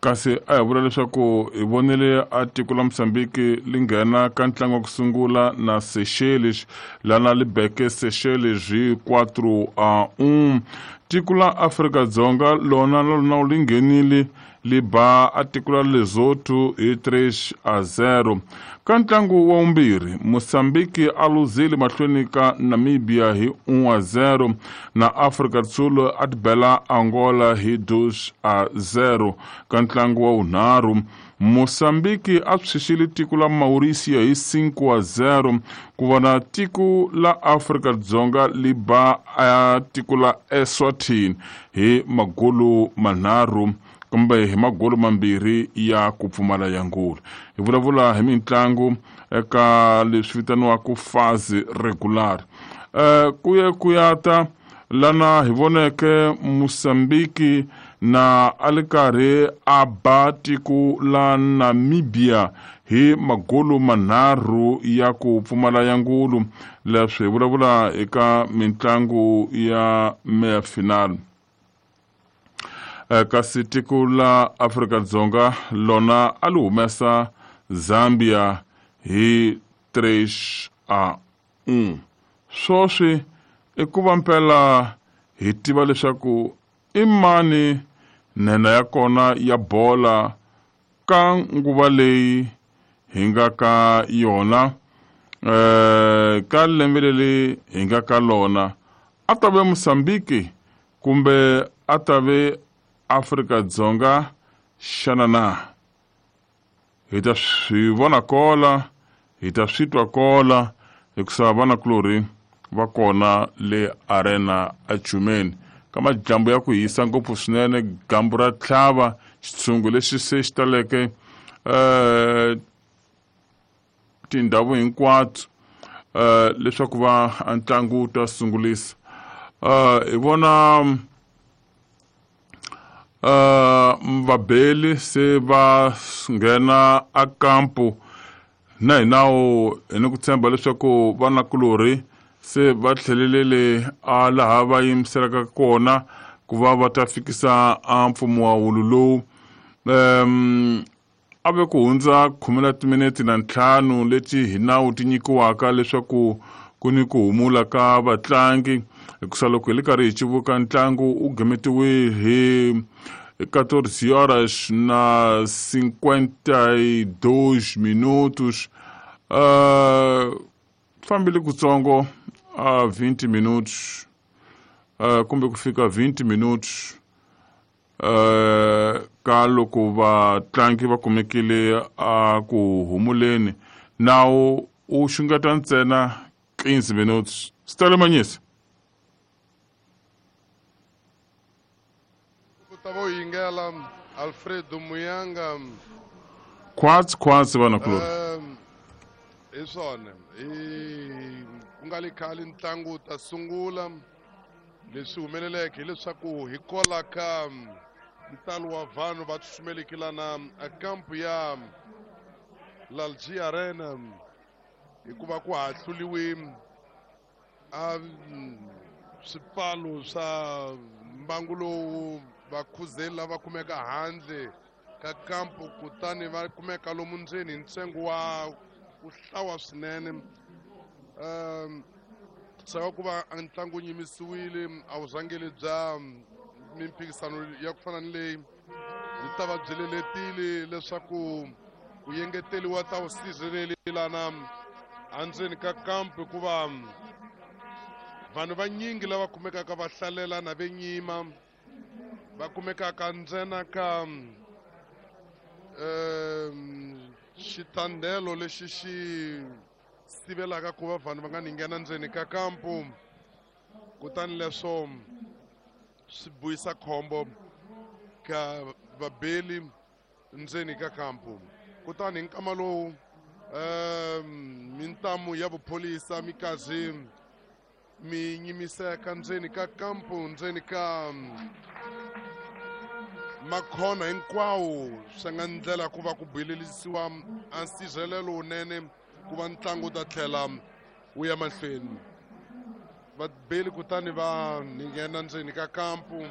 Kasi a hi vula leswaku hi vonile a tiko la Mozambique li nghena ka ntlangu wa ku sungula na Seychelles, lana li beke Seychelles hi 4-1. Tiko la Afrika-Dzonga lona na lona li nghenile li ba a tiko la Lesotho hi 3-0. Ka ntlangu wa vumbirhi, Mozambique a luzile mahlweni ka Namibia hi 1-0 na Afrika do Sul a tibela Angola hi 2-0. Ka ntlangu wa vunharhu, Mozambique a tshwixile tiko la Mauricia hi 5-0 ku vona tiko la Afrika-Dzonga li ba a tiko la Eswatini hi magolu manharhu kumbe hi magolu mambirhi ya ku pfumala ya ngulu. Hi vulavula hi mitlangu eka leswi vitaniwaka phase regular. Ku ye ku ya ta lana hi voneke Mozambique na a li karhi a ba tiko la Namibia hi magolu manharhu ya ku pfumala ya ngulu. Leswi hi vulavula eka mitlangu ya meya final. Kasi tiko la Afrika-Dzonga lona a li humesa Zambia hi 3-1. Swoswi i ku va mpela hi tiva leswaku i mani nhenha ya kona ya bola ka nguva leyi hi nga ka yona, ka lembe leri hi nga ka lona, a ta ve Mozambique kumbe a ta ve Afrika-Dzonga xana na? Hi ta swi vona kola, hi ta swi twa kola, hikusa vanakulorhi va kona le arena achumeni. Ka madyambu ya ku hisa ngopfu swinene, dyambu ra tlhava, xitshungu lexi se xi taleke tindhawu hinkwato, leswaku va a ntlangu wu ta sungulisa. Hi vona vabeli se va nghena a kampu na hi nawu, hi ni ku tshemba leswaku vanakulorhi se va tlhelelele a laha va yimiselaka kona ku va va ta fikisa a mpfumo wa wulu lowu. A ve ku hundza khume na timinete na ntlhanu leti hi nawu ti nyikiwaka leswaku ku ni ku humula ka vatlangi, hikusa loko hi li karhi hi civuka ntlangu wu gemetiwe hi quatorze horas na cinquenta e dois minutos. Fambile kutsongo a 20 minutos, kumbe ku fika 20 minutos, ka loko vatlangi va kumekile a ku humuleni. Nawu wu xungeta ntsena 15 minutos. Sitale Manyisa. Ku ta vo yingela Alfredo Muyanga. Khwatsi khwatsi vanakulorhi. Hi swona, hi ku nga li khale ntlangu wu ta sungula. Leswi humeleleke hileswaku hi kola ka ntalo wa vanhu va tsutsumeleke lana a kampu ya Lalji Arena, hikuva ku hahluliwe a swipfalo swa mbangu lowu vakhuzeli lava kumeka handle ka kampu, kutani va kumeka lomu ndzeni hi ntsengo wa ku hlawa swinene. Swa ku va ntlangu wu yimisiwile a wu rhangeli bya mimphikisano ya ku fana ni leyi byi ta va byi leletile leswaku ku yengeteliwa ta vusirheleli lana andzeni ka kampu, hikuva vanhu vanyingi lava kumekaka va hlalela na ve nyima va kumekaka ntsena ka xitandelo lexi xi sivelaka ku va vanhu va nga ni nghena ndzeni ka kampu, kutani leswo swi buyisa khombo ka vabeli ndzeni ka kampu. Kutani hi nkama lowu mintamu ya vupholisa mi karhi mi nyimiseka ndzeni ka kampu, ndzeni ka makhona hinkwawo, swi nga ndlela ku va ku buyelelisiwa a nsirhelelo wunene ku va ntlangu wu ta tlhela wu ya mahlweni. Vabeli kutani va nghena ndzeni ka kampu.